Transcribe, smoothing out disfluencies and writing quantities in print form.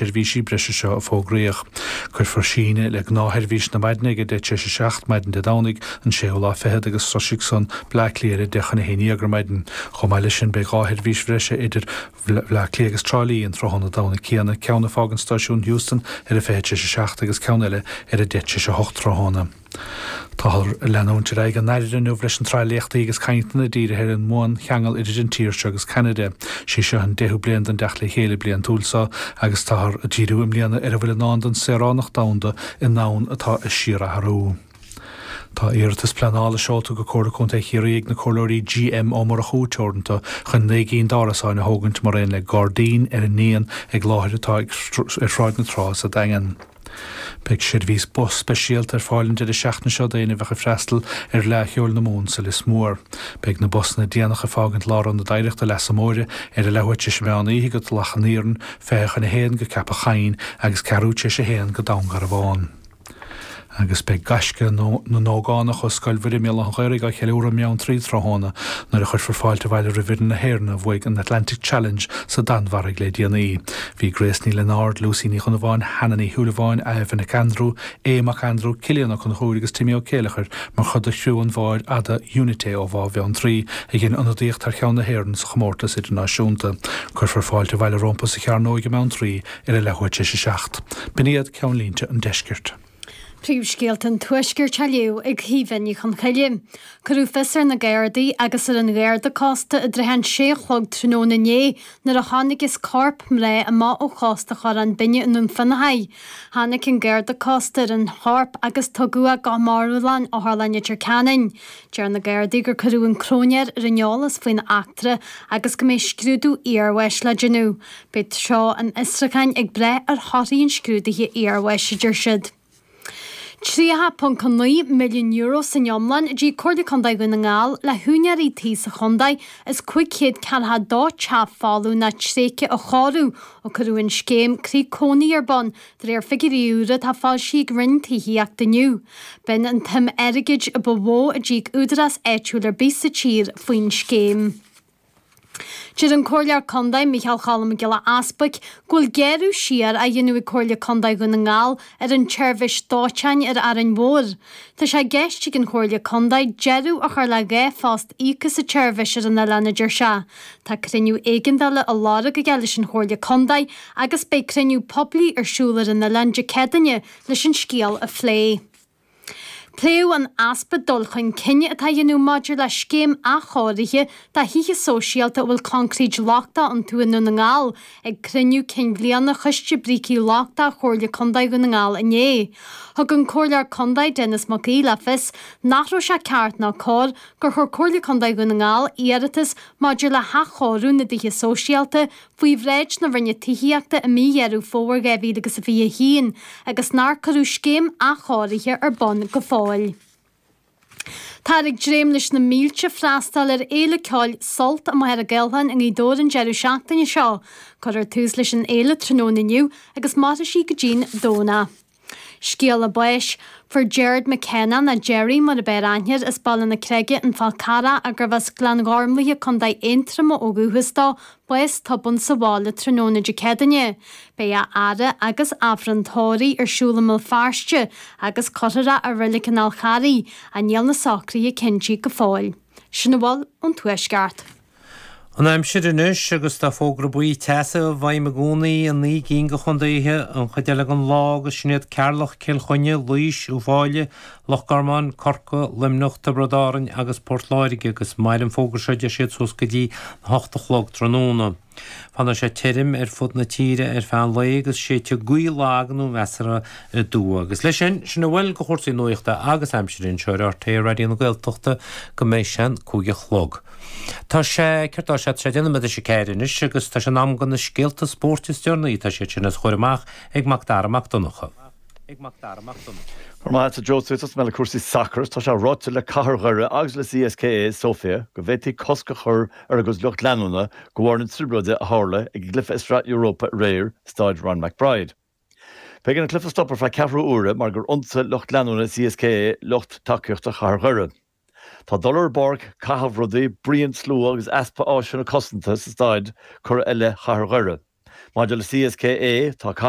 seirbhísí breise seo a fógraíodh. Cuirfear síneadh le gnáthsheirbhís na maidne ag 7:10 maidin Dé Domhnaigh, an séú lá fichead, agus sroisfidh san Bleá Cliath ar 10:50 ar maidin. Chomh maith leis sin, beidh 2 sheirbhís bhreise idir Bhleá Cliath agus Trá Lí an tráthnóna Domhnaigh céanna, ceann ag fágaint stáisiún Heuston ar a 7:40 agus ceann eile ar a 7:50 tráthnóna. Táthar ag leanúint ar aghaidh i nDairire inniu leis an tsraith léachtaí agus cainteanna dírithe ar an mbuancheangal idir an tír seo agus Ceanada. Sí seo an deichiú bliain den dteacht le chéile bliantúil seo agus táthar ag díriú i mbliana ar a bhfuil i ndán don saoránacht domhanda i ndomhan atá ag síorathrú. Tá iarratas pleanála seolta go Comhairle Contae Chiarraí ag na Comhairleoirí G.M. Ó Murchú Teoranta chun 9 gcinn d'árasáin a thógaint mar aon le gairdín ar an ndíon ag láthair atá ar Shráid na Trá sa Daingean. Beidh seirbhís bus speisialta ar fáil an deireadh seachtaine seo d'éinne a bheadh ag freastal ar Fhleadh Cheoil na Mumhan sa Lios Mór. Beidh na busanna déanacha ag fágaint Lárionad Oidhreachta Leasa Móire ar a leathuair tar éis an mheán oíche go Tulach an Iarainn, 12:40 go Ceapach Choinn agus ceathrú tar éis a haon go Dún Garbhán. Agus beidh gaisce na n-ógánach ó Scoil Mhuire i mBéal Átha an Ghaorthaidh á cheiliúradh i mBeanntraí tráthnóna nuair a chuirfear fáilte abhaile roimh fhoireann na hÉireann a bhuaigh an Atlantic Challenge sa Danmhairg le déanaí. Bhí Grace Ní Lionáird, Lucy Ní Dhonnabháin, Hannah Ní Shúilleabháin, Aoibheann Nic Aindriú, Aodh Mac Aindriú, Cillian Ó Conchúir agus Timmy Ó Céileachair mar chuid de chriú an bháid fhada Unité ó Bhá Bheanntraí a dhein ionadaíocht thar cheann na hÉireann sa chomórtas idirnáisiúnta. Cuirfear fáilte abhaile rompu sa Chearnóig i mBeanntraí ar a leathuair tar éis a 7. B'in iad ceannlínte an deiscirt. Príomhscéalta an Tuaiscirt á léamh ag Caoimhe Ní Chonchoille. Cuireadh fios ar na Gardaí agus ar an Gharda Cósta i dtrátha an 6 a chlog tráthnóna inné nuair a chonacthas corp mná amach ó chósta Chorrán Binne i nDún Fionnachaidh. Tháinig an Garda Cósta ar an chorp agus tugadh é go marbhlann Otharlann Leitir Ceanainn. Deir na Gardaí gur cuireadh an cróinéir ar an eolas faoin eachtra agus go mbeidh scrúdú iarbháis le déanamh. Beidh treo an fhiosrúcháin ag brath ar thorthaí an scrúdaithe iarbháis, a deir siad. €30.9 milliún san iomlán a d'íoc Comhairle Contae Dhún na nGall le húinéirí tí sa chontae as 542 teach folamh nó tréigthe a chóiriú ó cuireadh an scéim Croí Cónaí ar bun, de réir figiúirí úra atá foilsithe ag Roinn Tithíochta inniu. B'in an tsuim airgid a ba mhó a d'íoc údarás áitiúil ar bith sa tír faoin scéim. Deir an Comhairleoir Contae Micheál Cholm Mac Giolla Easbuic go bhfuil gearradh siar á dhéanamh ag Comhairle Contae Dhún na nGall ar an tseirbhís dóiteáin ar Árainn Mhór. Tá sé i gceist ag an Chomhairle Contae deireadh a chur le 2 phost íoctha sa tseirbhís ar an oileán, a deir sé. Tá cruinniú éigeandála á lorg aige leis an Chomhairle Contae agus beidh cruinniú poiblí ar siúl ar an oileán Dé Céadaoine leis an scéal a phlé. Pléadh an easpa dul chun cinn atá á dhéanamh maidir le scéim athchóirithe do thithe sóisialta a bhfuil concrete lochtach iontu i nDún na nGall ag cruinniú cinn bhliana Choiste Brící Lochtacha Chomhairle Contae Dhún na nGall inné. Thug an Comhairleoir Contae Denis Mac Aoidh le fios nach raibh sé ceart ná cóir gur chuir Comhairle Contae Dhún na nGall iarratas maidir le hathchóiriú na dtithe sóisialta faoi bhráid na Roinne Tithíochta i mí Dheireadh Fómhair 2021 agus nár cuireadh scéim athchóirithe ar bun go fóill. Táthar ag dréim leis na mílte freastal ar fhéile ceoil Sult i Machaire Gathlán i nGaoth Dobhair an deireadh seachtaine seo. Cuirfear tús leis an fhéile tráthnóna inniu agus mairfidh sí go dtí'n Domhnach. Scéala báis. Fuair Gerard McKenna, nó Gerry mar ab fhearr aithne air, as Baile na Creige, An Fál Carrach, gurbh as Gleann Ghormlaithe, Co. Aontroma ó dhúchas dó, bás tobann sa bhaile tráthnóna Dé Céadaoine. Beidh a fhaire agus Aifreann tórraimh ar siúl i mBéal Feirste agus cuirfear é i Reilig an Fháil Charraigh, ach níl na socruithe cinntithe go fóill. Sin a bhfuil ón Tuaisceart. An aimsir anois agus tá fógra buí teasa i bhfeidhm i gcónaí i naoi gcinn de chontaetha an chuid eile den lá agus sin iad Ceatharlach, Cill Chainnigh, Laois, Uíbh Fhailí, Loch Garman, Corcaigh, Luimneach, Tiobraid Árann agus Port Láirge agus mairfidh an fógra seo deir siad suas go dtí a hocht a chlog tráthnóna. Fanfaidh sé tirim ar fud na tíre ar feadh an lae agus séidfidh gaoth lag nó mheasartha aduaidh. Agus leis sin, sin a bhfuil de chúrsaí nuachta agus aimsire anseo ar RTÉ Raidió na Gaeltachta go mbeidh sé an 5 a chlog. Tá sé, céard tá sé, tá sé 4 nóiméad tar éis 4 anois agus tá sé in am do na scéalta spóirt is deireanaí, tá siad sin á chur amach ag Mac Dara Mac Donncha. Go raibh maith agat a Joe, tosóidh mé le cúrsaí sacair. Tá sé ráite le Cathair Dhoire agus le CSKA Sofia go bhféadfaí cosc a chur ar a gcuid lucht leanúna de bharr na trioblóide a tharla ag an gcluiche i Sraith Europa aréir, Staid Ron McBride. B'éigean an cluiche a stopadh ar feadh ceathrú uaire mar gur ionsaigh lucht leanúna CSKA lucht tacaíochta Chathair Dhoire. Tá dul ar an bpáirc, caitheamh rudaí, bruíon slua agus easpa áiseanna cosanta sa staid curtha i leith Chathair Dhoire. Maidir le CSKA, tá.